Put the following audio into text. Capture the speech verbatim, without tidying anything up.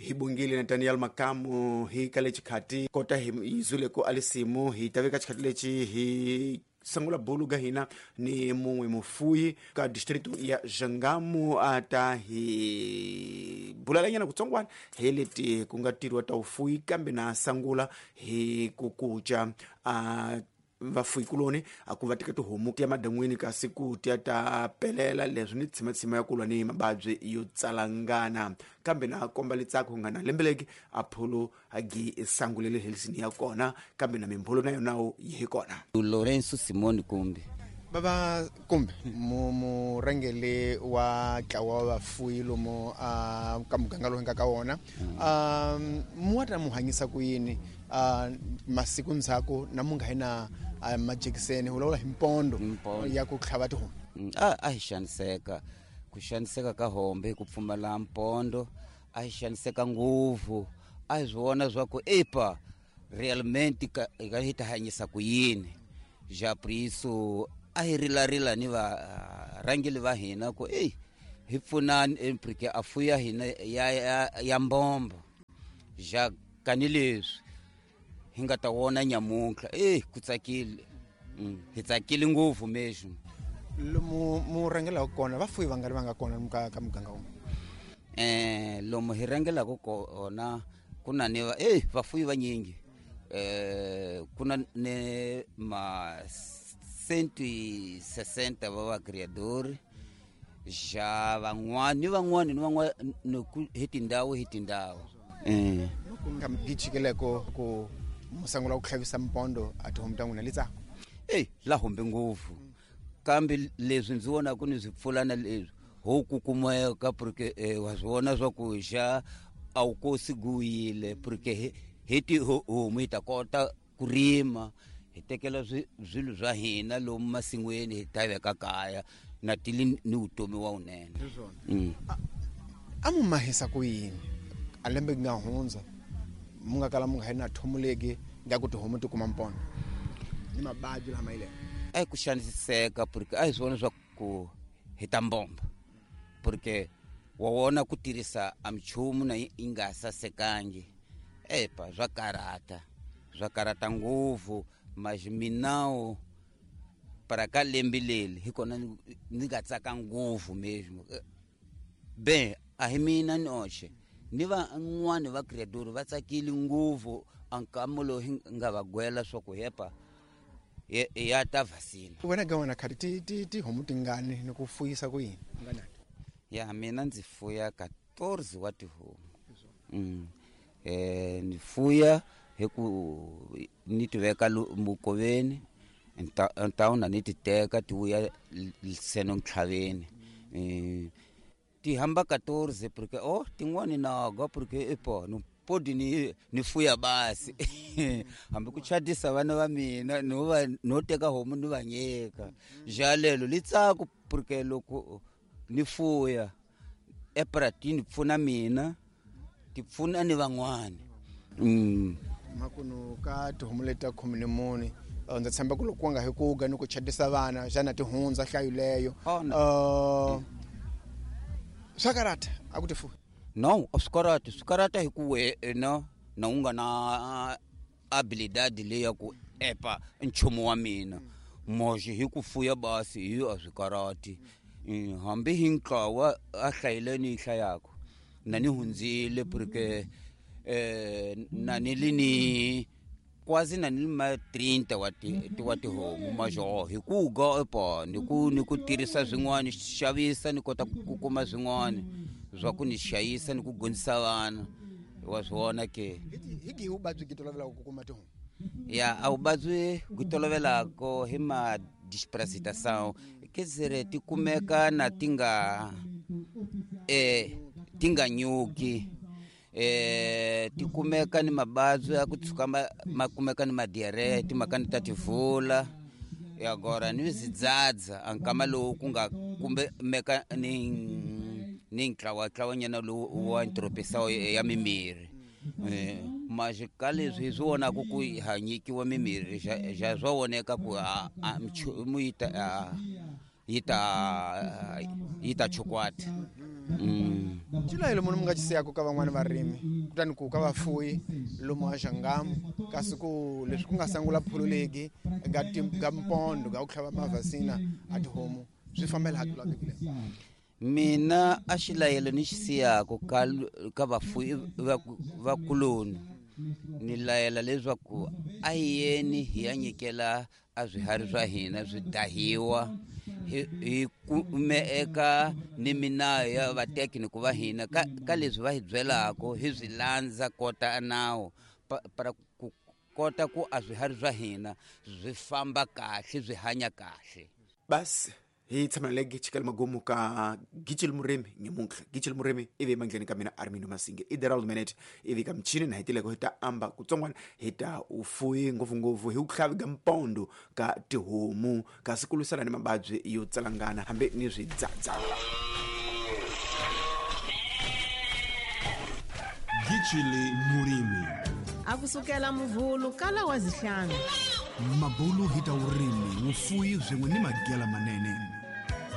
Hi bungile na Daniel Makamu hi ka lexi khati kota hi yizule ku alisimu hi ta veka xikhati lexi hi sangula bulu ga hina ni mun'we mufuyi ka district ya Jangamo a ta hi bulalanyana kutsongwana hi leti ku nga tirhiwa ta vufuyi kambe na sangula hi ku kuca a vafuyi kuloni a ku va teka tihomu ti ya madan'wini kasi ku tiya ta pelela leswi ni tshimatsima ya ku lwa ni mavabyi yo tsalangana kambe na komba litsako nga na lembeleki a pholo a gi sangulele helisini ya kona kambe na mimbholo na yona yi hi kona. Lorenzo Simoni Kumbi baba Kumbi mu murhangeri wa ntlawa wa vafuyi lomu a ka muganga lowu hi nga ka wona, um mu wa ta mu hanyisa ku yini masiku ndzhaku na mu nga hi na majekiseni vulavula hi mpondo ya ku tlhava tihomu? A a hi xaniseka ku xaniseka ka hombe hi ku pfumala mpondo, a hi xaniseka ngopfu, a hi swi vona swa ku epa realmente ka hi ta hanyisa ku yini. Ja por isso a hi rilarila ni varhangeri va hina ku ei hi pfunani porque a fuya hina ya ya, ya mbombo ja kani leswi hi nga ta wona nyamuntlha eh ku tsakile, hi tsakile ngopfu mesmo. Lomu mu rhangelaka kona vafuyi va nga ri va nga kona ka ka muganga wun'we? Eh lomu hi rhangelaka kona ku na ni eh vafuyi vanyingi, eh ku na ni ma cento e sessenta va va criador ja van'wani ni van'wani ni van'wani hi tindhawu hi tindhawu. Eh nga gichikeleko ku musangula ku tlhavisa mpondo a tihomu ta n'wina litsako? Eh la hombe ngopfu kambe leswi ndzi vonaka ni swi pfulana leswi ho ku kumeka porque eh, wa swi vona swa ku xa a wu kosi guyile porque hi tihomu hi ta kota ku rima hi tekela swilo swa hina lomu masin'wini hi ta veka kaya na tili ni vutomi wa wunene. A mu mahisa ku yini a lembe nga hundza mu nga kala mu nga hi na thomuleki nga ku tihomu ti kuma mpondo ni mavabyi lama yile? A hi ku xaniseka porque a hi swi vona swa ku hi ta mbomba porque wa wona ku tirhisa a minchumu na yi nga sasekangi epa swa karata swa karata ngopfu. Mas minawo para ka lembe leri hi kona ni nga tsaka ngopfu mesmo be a hi mina noxe ni van'wani va criador va tsakile ngopfu a nkama lowu hi nga va gwela swa ku hepa ya ta vasina. Wena ga wena khati ti ti tihomu tingani ni ku fuyisa ku yini? Ya mina ndzi fuya quatorze wa tihomu. Mm. Eh ni fuya hi ku ni ti veka mukoveni ntawuna ni ti teka ti vuya seno ntlhaveni. Eh ti hamba quatorze porque oh tin'wani naga porque epa no podi ni ni fuya basi hambi ku chadisa vana va mina no va no teka homu ni va nyika ja lelo litsako porque loko ni fuya epratini pfuna mina ti pfuna ni van'wani. Mm. Makuno ka tihomu leti ta khume ni mune ndza tshemba ku loko ku nga hi ku ga ni ku chadisa vana xana ti hundza nhlayo leyo? Uh, swa karata a ku ti fuwi? No, a swi karati, swi karata hi ku wena na u nga na abilidade leyi ya ku epa nchumu wa mina moxe hi ku fuya basi hi a swi karati. Hambi hi ntlawa a hlayile ni yi hlayaka na ni hundzile porque eh na ni li ni quase na ni ma trinta wa ti wa tihomu majo hi ku ga epa ni ku ni ku tirhisa swin'wana xavisa ni kota ku kuma swin'wana swa ku ni xayisa ni ku gondzisa vana wa swi vona ke. Hi gihi vuvabyi byi tolovelaka ku kuma tihomu? Ya a vuvabyi byi tolovelaka hi ma disparasitação quer dizer ti kumeka na ti nga eh ti nga nyuki eh ti kumeka ni mavabyi ya ku tshuka ma, ma kumeka ni madiarrhea timhaka ni ta tivula agora ni zidzadza a nkama lowu ku nga kumeka ni ni ntlawantlawanyana lowu wa ntropisawo ya mimirhi. Eh mas ka leswi hi swi vonaka ku ha nyikiwa mimirhi ja swa voneka ku a nchumu yi ta yi ta yi ta chukwata. Mm. Xilayelo munhu mi nga xi siyaka ka van'wani varimi kutani ku ka vafuyi lomu a Xangamu kasi ku leswi ku nga sangula pholo legi ga ga mpondo ga ku tlhava mavhasina a tihomu swi fambela ha lavekile. Mina a xilayelo ni xi siyaka ka ka vafuyi va vakuloni ni layela leswaku a hi yeni hi ya nyikela a swiharhi swa hina swi dahiwa hi hi kume eka ni minayo ya vatekiniki va hina ka ka leswi va hi byelaka hi swi landza kota nawu para ku kota ku a swiharhi swa hina swi famba kahle swi hanya kahle. Basi hi tshama legi chikela magumu ka Gitshili Murimi nyamuntlha. Gitshili Murimi ivi emandleni ka mina Armindo Masinge i Derald Minute ivi ka michini na hetileko hi ta amba kutsongwana hi ta ufuyi ngopfungopfu hi ku ga mpondo ka tihomu kasi ku lwisana ni mababyi yo tsalangana hambi ni swidzadza. Gitshili Murimi akusukela muvhulu kala wa zihlanu mabulu hi ta urimi vufuyi byin'we ni magela manene.